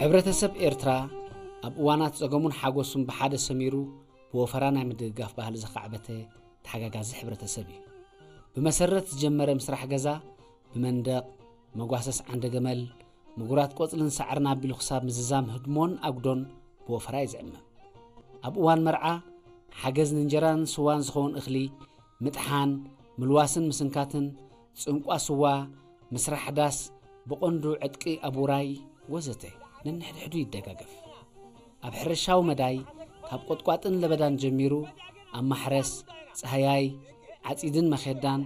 ሕብረተሰብ ኤርትራ ኣብ እዋናት ጸገሙን ሓጎሱን ብሓደ ሰሚሩ ብወፈራ ናይ ምድግጋፍ ባህሊ ዘኻዕበተ ተሓጋጋዚ ሕብረተሰብ እዩ። ብመሰረት ዝጀመረ ምስራሕ ገዛ ብመንደቕ፣ መጓሰስ ዓንደ ገመል፣ ምጉራት ቆጽልን ሳዕርን ኣቢሉ ክሳብ ምዝዛም ህድሞን ኣጉዶን ብወፈራ እዩ ዝዕመም። ኣብ እዋን መርዓ ሓገዝ ንእንጀራን ስዋን ዝኸውን እኽሊ ምጥሓን፣ ምልዋስን ምስንካትን፣ ጽንቋ ስዋ፣ ምስራሕ ዳስ፣ ብቐንዱ ዕጥቂ ኣብ ውራይ ወዘተ ነንሕድሕዱ ይደጋገፍ። ኣብ ሕርሻዊ መዳይ ካብ ቆጥቋጥን ለበዳን ጀሚሩ ኣብ ማሕረስ፣ ጻህያይ፣ ዓጺድን መኼዳን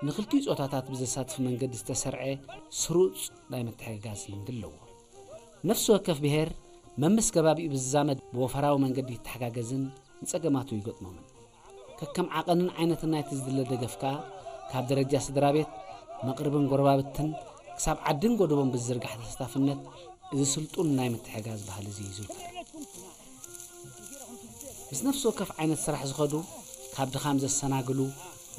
ንኽልቲኡ ጾታታት ብዘሳትፍ መንገዲ ዝተሰርዐ ስሩጽ ናይ ምትሕግጋዝ ልምዲ ኣለዎ። ነፍሲ ወከፍ ብሔር መምስ ከባቢኡ ብዝዛመድ ብወፈራዊ መንገዲ ይተሓጋገዝን ንጸገማቱ ይገጥሞምን። ከከም ዓቐንን ዓይነትን ናይቲ ዝድለ ደገፍ ከኣ ካብ ደረጃ ስድራ ቤት፣ መቕርብን ጎረባብትን ክሳብ ዓድን ጎደቦን ብዝዝርጋሕ ተሳታፍነት እዚ ስልጡን ናይ ምትሕጋዝ ባህሊ እዚ ይዝውተር። ምስ ነፍሲ ወከፍ ዓይነት ስራሕ ዝኸዱ ካብ ድኻም ዘሰናግሉ፣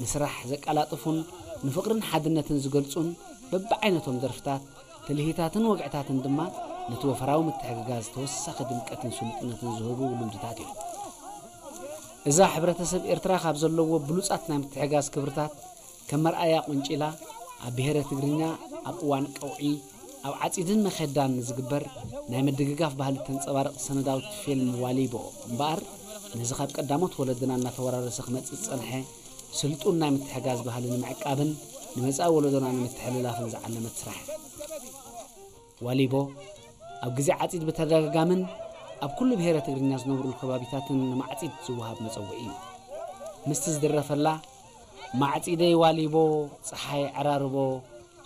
ንስራሕ ዘቀላጥፉን ንፍቕርን ሓድነትን ዝገልጹን በብዓይነቶም ደርፍታት፣ ትልሂታትን ወግዕታትን ድማ ነቲ ወፈራዊ ምትሕግጋዝ ተወሳኺ ድምቀትን ስሉጥነትን ዝህቡ ልምድታት እዮም። እዛ ሕብረተሰብ ኤርትራ ካብ ዘለዎ ብሉጻት ናይ ምትሕጋዝ ክብርታት ከም መርኣያ ቆንጪላ፣ ኣብ ብሄረ ትግርኛ ኣብ እዋን ቀውዒ ኣብ ዓጺድን መኼዳን ንዝግበር ናይ ምድግጋፍ ባህሊ ተንጸባርቕ ሰነዳዊት ፊልም ዋሊቦ እምበኣር፣ ነዚ ካብ ቀዳሞት ወለድና እናተወራረሰ ክመጽእ ዝጸንሐ ስልጡን ናይ ምትሕጋዝ ባህሊ ንምዕቃብን ንመጻኢ ወለዶና ንምትሕልላፍን ዝዓለመት ስራሕ። ዋሊቦ ኣብ ግዜ ዓጺድ ብተደጋጋምን ኣብ ኩሉ ብሄረ ትግርኛ ዝነብሩሉ ከባቢታትን ንማዕጺድ ዝወሃብ መጸውዒ እዩ። ምስቲ ዝድረፈላ፣ ማዕጺደይ ዋሊቦ፣ ጸሓይ ዕራርቦ፣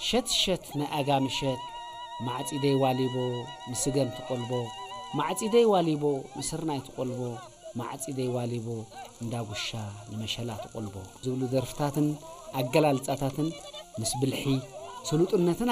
ሸት ሸት ናይ ኣጋ ምሸት፣ ማዕጺደይ ዋሊቦ፣ ንስገም ትቆልቦ፣ ማዕጺደይ ዋሊቦ፣ ንስርናይ ትቆልቦ፣ ማዕጺደይ ዋሊቦ፣ እንዳጉሻ ንመሸላ ትቆልቦ ዝብሉ ደርፍታትን ኣገላልጻታትን ምስ ብልሒ፣ ስሉጥነትን